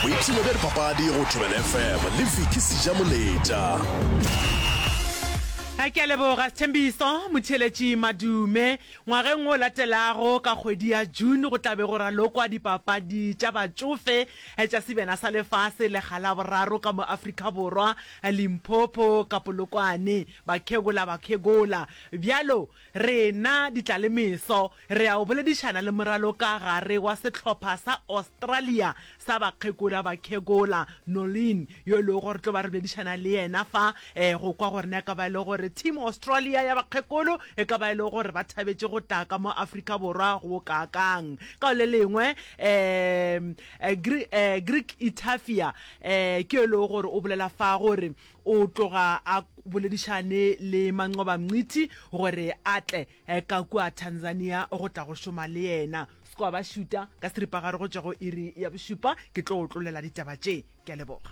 Boipshino bja dipapadi go Thobela FM le Vicky Sejamoletša. Ke a leboga Sthembiso Motheeletši Madume. Ngwageng o latelago ka kgwedi ya June go tla be go ralokwa dipapadi tša batšofe tša Sebjana sa Lefase lekga la boraro ka mo Afrika Borwa, Limpopo ka Polokwane. Bakhegola bakhegola. Bjalo Rena ditlalemeso re ya go boledišana le moralokagare wa sehlopha sa Australia sa bakgekola bakhekola, Noleen, yo e lego gore tlo ba re boledišana le yena fa go kwa gore na e ka ba e le gore Team Australia ya bakgekolo e ka ba e le gore ba thabetše go tla ka mo Afrika Borwa go kaakang. Ka le lengwe um Greek Itafia um ke yo e lego gore o bolela fa gore O tloga a boledišane le Manqoba Mngqithi gore a tle ka kua Tanzania go tla go šoma le yena. Squaba ba šuta ka seripagare go tšwa go iri ya bošupa. Ke tlo o tlolela ditaba tše. Ke a leboga.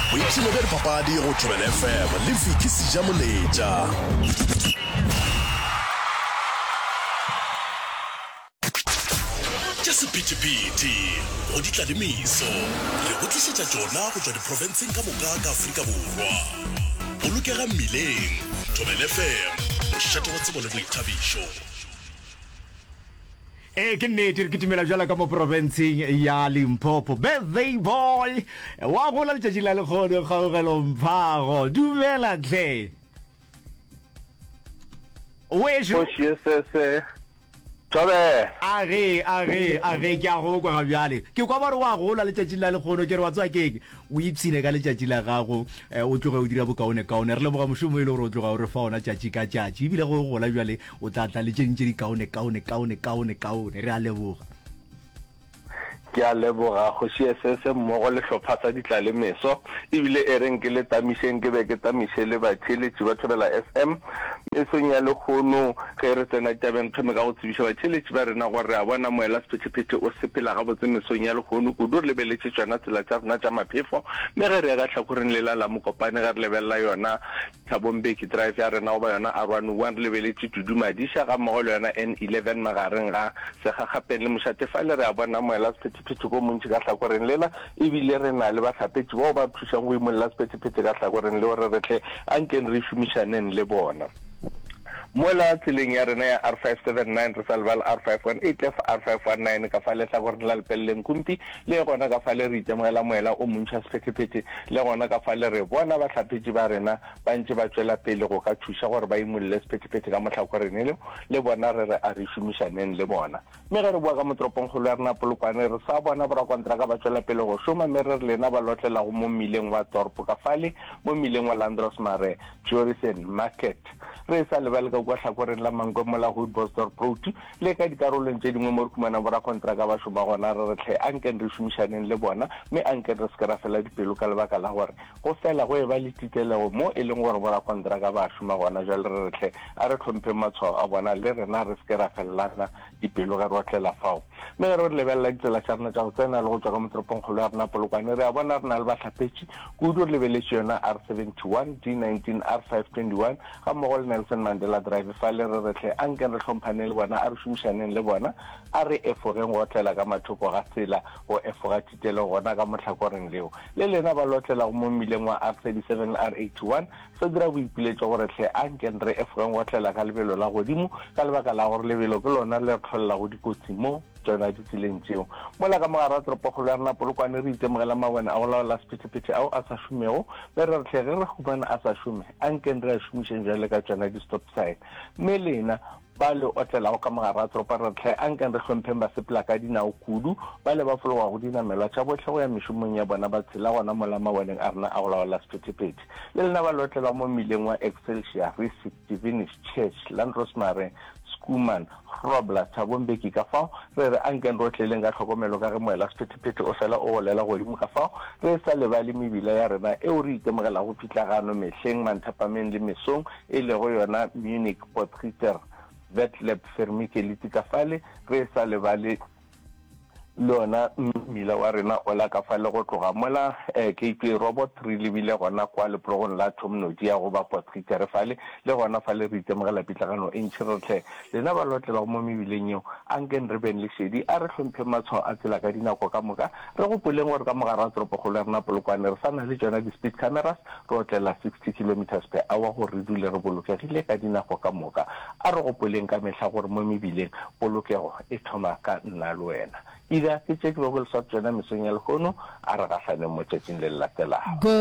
Boipshino bja dipapadi go Thobela FM le Vicky Sejamoletša. Tša sephethephethe go di tla le meso, re go tlišetša tšona go tšwa diprofenseng ka moka ka Afrika Borwa. Bolokega mmileng, Thobela FM, mošate wa tsebo le boithabišo. Ee, ke nnete, re kitimela bjalo ka mo profenseng ya Limpopo. Birthday boy wa gola letšatši la lekgono, Kgaugelo Mphago. Dumela tle. Wešo. Kgoši ye sese. Thobela. A ge, a ge, a ge, ke a go kwa ga bjale. Ke kwa ba re wa gola letšatšing la lekgono, ke re wa tseba keng? O ipshine ka letšatši la gago, eh, o tloge o dira bokaonekaone. Re leboga mošomo e le gore o tloga o re fa ona tšatši ka tšatši. Ebile ge o gola bjale, o tla tla le tše ding tše di kaone, kaone, kaone, kaone, kaone. Re a leboga. Ke a leboga Kgoši Esese mmogo le hlopha sa Ditlalemeso. Ebile e reng ke le tamišeng ke be ke tamiše le batheeletši ba Thobela FM. Mesong ya lehono ge re tsena ditabeng re thome ka go tsebiša batheeletši ba rena gore re a bona moela sephethephethe o sepela gabotse mesong ya lehono kudu re lebeletše tšona tsela tša rena tša maphefo mme ge re ya ka hlakoreng lela la Mokopane ge re lebelela yona Thabo Mbeki Drive ya rena goba yona R101 re lebeletše Dudu Madisha gammogo le yona N11 magareng ga Segagapeng le Mošate. Fale re a bona moela sephethephethe ko montši ka hlakoreng lela ebile re na le bahlapetši bao ba re thušang go imolla sephethephethe ka hlakoreng leo re re hle ankeng re šomišaneng le bona. Mola tseleng ya rena ya R579 re sa lebale R518 le R519 ka fa lehlakoreng la Lepelle Nkumpi Le gona ka fale re itemogela moela o montši wa sephethephethe, le gona ka fale re bona bahlapetši ba rena ba ntše ba tšwela pele go ka thuša gore ba imolle sephethephethe ka mohlakoreng leo, le bona re re a re šomišaneng le bona. Mme ge re boa ka mo toropongkgolo ya rena Polokwane, re sa bona borakontraka ba tšwela pele go šoma, mme re re lena ba lotlelago mo mmileng wa torpo ka fale, mo mmileng wa Landros Mare, Jorissen Market, re sa lebale ka kua hlakoreng la Mankwe mola Hoedbosdorp Road, Le ka dikarolong tše dingwe mo re humanago borakontraka ba šoma gona, re re hle ankeng re šomišaneng le bona, mme ankeng re se ke ra fela dipelo ka lebaka la gore go fela go eba le titelego mo e leng gore borakontraka ba šoma gona. Bjale re re hle a re hlompheng matshwao a bona, le rena re se ke ra felelana dipelo ge re otlela fao. Mme ge re lebelela ditsela tša rena tša go tsena le go tšwa ka mo toropongkgolo ya rena Polokwane, re a bona re na le bahlapetši kudu, re lebeletše yona R71, D19, R521, Gammogo le Nelson Mandela Drive fale re re hle ankeng re hlomphaneng le bona, a re šomišaneng le bona, a re efogeng go otlela ka mathoko ga tsela, go efoga thitelo gona ka mohlakoreng leo. Le lena ba le otlelago mo mmileng wa R37 le R81, se dira boipiletšo gore hle ankeng re efogeng go otlela ka lebelo la godimo ka lebaka la gore lebelo ke lona le re hlolelago dikotsi mo tšona ditseleng tšeo. Mola ka mogare ga toropokgolo ya rena Polokwane re itemogela mabone a go laola sephethephethe ao a sa šomego, mme re re hle ge re humana a sa šome, ankeng re a šomišeng bjale ka tšona di-stop sign. Mme lena ba le otlelago ka mogare ga toropo re re hle ankeng re hlompheng basepela ka dinao kudu, bale ba fologago dinamelwa tša bohle go ya mešomong ya bona ba tshela gona mola maboneng a rena a go laola sephethephethe. Le lena ba le otlelago mo mmileng wa Excelsior, Rissik, Divinish, Church, Landrosmare, Schoeman, Grobler, Thabo Mbeki, ka fao re re ankeng re otleleng ka tlhokomelo ka ge moela sephethephethe o fela o golela godimo ka fao re sa lebale mebila ya rena eo re itemogelago pitlagano mehleng, manthapameng le mesong, e lego yona Munich, Potgieter, Vetleb, Vermikeliti ka fale re sa lebale. Le yona mmila wa rena ola ka fale go tloga mola Gateway Robot re lebile gona kwa leprogong la Thomnodia goba Potgieter fale, le gona fale re itemogela pitlagano e ntši. Re re hle lena ba lotlelago mo mebileng yeo, ankeng re beng le šedi, a re hlompheng matshwao a tsela ka dinako ka moka, re gopoleng gore ka mo gare ga toropokgolo ya rena Polokwane re sa na le tšona di-speed cameras, re otlela 60 kilometres per hour gore re dule re bolokegile ka dinako ka moka. A re gopoleng ka mehla gore mo mebileng polokego e thoma ka nna le wena. Ida, ke tše ke bego ke le sware tšona mesong ya lehono. A re gahlaneng mo tšatšing le le latelago. Good.